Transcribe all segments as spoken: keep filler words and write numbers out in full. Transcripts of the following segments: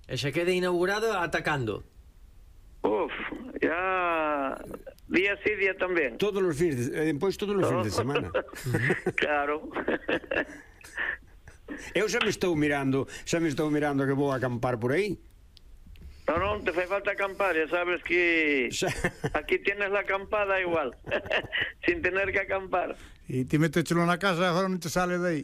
E xa queda inaugurado atacando. Uf, ya día sí, día tamén. Todos os fins, de, depois todos os fins de semana. Claro. Eu xa me estou mirando, xa me estou mirando que vou acampar por aí. No, non te fai falta acampar, ya sabes que aquí tienes la acampada igual, sin tener que acampar. E ti metechelo na casa e agora non te sale de aí.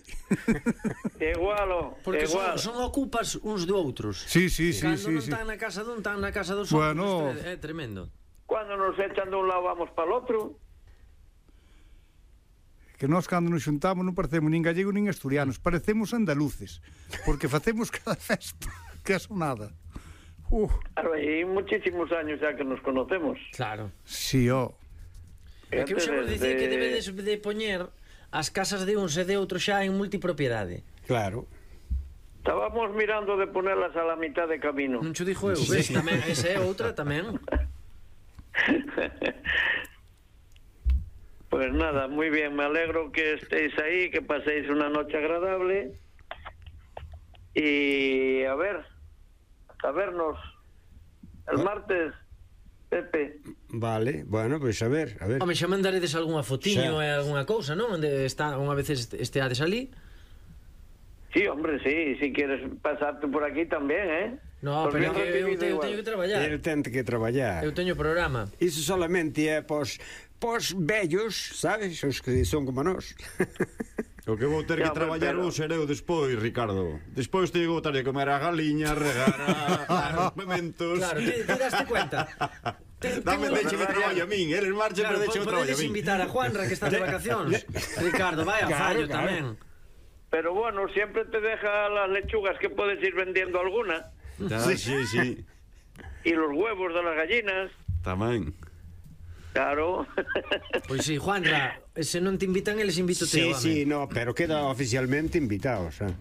Igual, Porque igual. son, son ocupas uns de outros. Sí, sí, sí, Cando sí, non sí. están na casa dun, están na casa dos Bueno. outros. É tremendo. Cuando nos echan de un lado vamos para el otro. Que nós cando nos xuntamos non parecemos nin gallegos nin asturianos, parecemos andaluces, porque facemos cada festa, que é sonada. Uh. Claro, hai muchísimos años ya que nos conocemos. Claro. Sí, ó. É que vos dicir que debedes de poñer as casas de uns e de outros xa en multipropiedade. Claro. Estábamos mirando de ponerlas a la mitad de camino. Non cho dixo eu, ves, tamén, esa é outra tamén. Pues nada, muy bien, me alegro que estéis ahí, que paséis una noche agradable. Y a ver, a vernos el martes, Pepe. Vale, bueno, pois pues a ver, a ver. Home, xa mandaredes algunha fotiño Xa. e algunha cousa, non? Onde está, unha vez esteades ali. Sí, hombre, sí, si quieres pasarte por aquí también, ¿eh? No, Pues pero bien que eu, recibido te, eu igual. teño que traballar. El ten que traballar. Eu teño programa. Iso solamente é pos, pos vellos, sabes? Os que son como nós. O que vou ter Ya, que traballar pero- vou ser eu despois, Ricardo. Despois te vou ter que comer a galiña, regar a, a pimentos. Claro, te, te daste cuenta. Te, Dame tengo- deixe que traballo a min, eles marchen, Claro, pero deixe que traballo a podedes min. invitar a Juanra que está de vacacións. Ricardo, vai a Claro, fallo claro. tamén. Pero bueno, siempre te deja las lechugas que puedes ir vendiendo alguna. Ya, sí, sí, sí. Y los huevos de las gallinas. Tamén. Claro. Pois si, Juanra, se non te invitan, eles invito te. Sí, sí, no, pero queda oficialmente invitados, eh.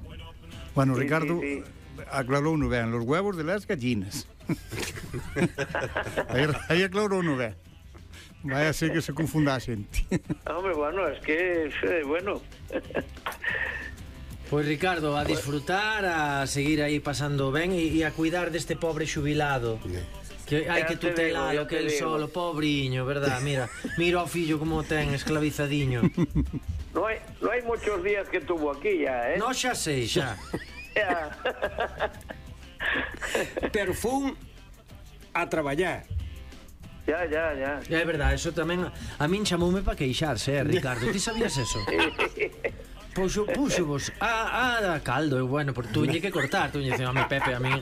Bueno, Sí, Ricardo sí, sí. aclarou no ben, los huevos de las gallinas. aí, aí aclarou no ben. Vai a ser que se confunda a xente. Hombre, bueno, es que, eh, bueno. Pois Ricardo, a disfrutar, a seguir aí pasando ben e, e a cuidar deste pobre xubilado. Que hai Ya que te digo, tutelalo, ya que te el digo. solo, pobriño, verdad? Mira, mira ao fillo como o ten esclavizadiño. No hay, no hay muchos días que tuvo aquí ya, ¿eh? No, xa sei, xa. Ya. Pero fun a traballar. Ya, ya, ya. É verdade, eso tamén a min chamoume para queixarse, eh, Ricardo. Ti sabías eso? Puxo, puxo vos a, a caldo, e bueno, por tuñe que cortar, tuñe dicen, a mi Pepe, a mí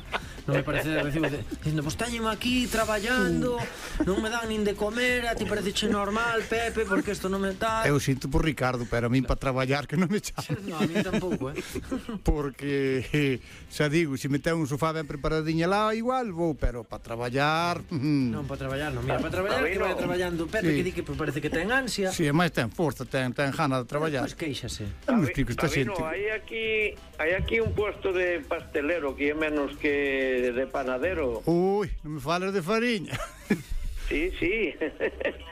non me parece de recibo de, dicindo, vos teñen aquí traballando, non me dan nin de comer, a ti pareceche normal, Pepe, porque isto non me tal. Eu sinto por Ricardo, pero a min para traballar que non me chaman. No, a mí tampouco, eh. Porque, eh, xa digo, se me ten un sofá ben preparadiña lá, igual vou, pero para traballar... mm, Non, para traballar, non, mira, para traballar A mí que vai no. traballando Pepe, Sí. que di que parece que ten ansia. Si, sí, máis ten forza, ten, ten gana de traballar. Pois queixase. Non me explico esta Sabino, xente. hay aquí, hay aquí un puesto de pastelero que é menos que de panadero. Ui, non me fales de fariña. Sí, sí.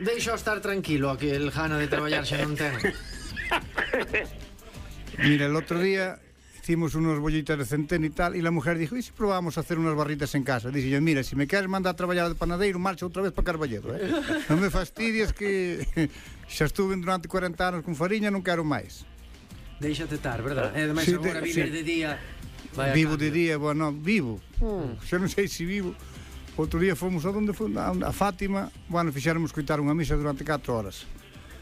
Deixa estar tranquilo, a que el gana de traballar xa non ten. Mira, el otro día hicimos unos bollitas de centeno y tal, y la mujer dijo, ¿y si probamos a hacer unas barritas en casa? Dice yo, mira, si me quieres mandar a traballar de panadeiro, marcha outra vez para Carballedo, eh? Non me fastidies que xa estuve durante cuarenta anos con fariña, non quero máis. Déixate estar, verdad? E ademais Sí, agora de- vives sí. de día. Vai a Vivo cambio. de día, bueno, vivo. Xa non sei se vivo. Outro día fomos a onde fomos, a a Fátima, bueno, fixéramos coitar unha misa durante catro horas.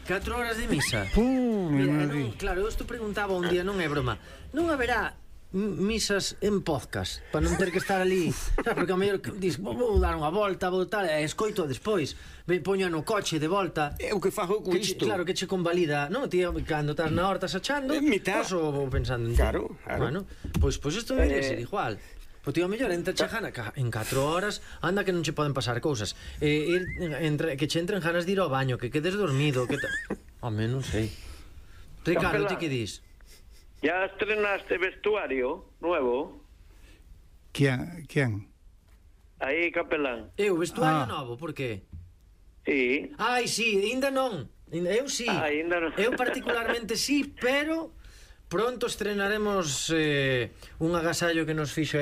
Catro horas de misa. Puh, Mira, mi non, madre. claro, eu isto preguntaba un día, non é broma. Non haberá m- misas en podcast para non ter que estar ali, sabes, porque a mellor que dis, vou, vou dar unha volta, vou tal, e escoito despois, me poño no coche de volta. É o que fago con Que che, isto. claro, que che convalida, non? Ti cando estás na horta sachando, En mitad. pois o vou pensando en ti. Claro, claro. Bueno, pois pois isto debería Eh. ser igual. Pois tío, a mellor entra che gana ca- en catro horas, anda que non che poden pasar cousas. Eh, ir, entre, que che entren ganas de ir ao baño, que quedes dormido, que ta... Home, non sei. Ricardo, ti que dis? ¿Ya estrenaste vestuario nuevo? ¿Quién? ¿Quién? Ahí, capelán. Eu, vestuario Ah. novo, por qué? Sí. Ai, sí, ainda non. Eu sí. Ah, aínda non. Eu particularmente sí, pero pronto estrenaremos eh, un agasallo que nos fixo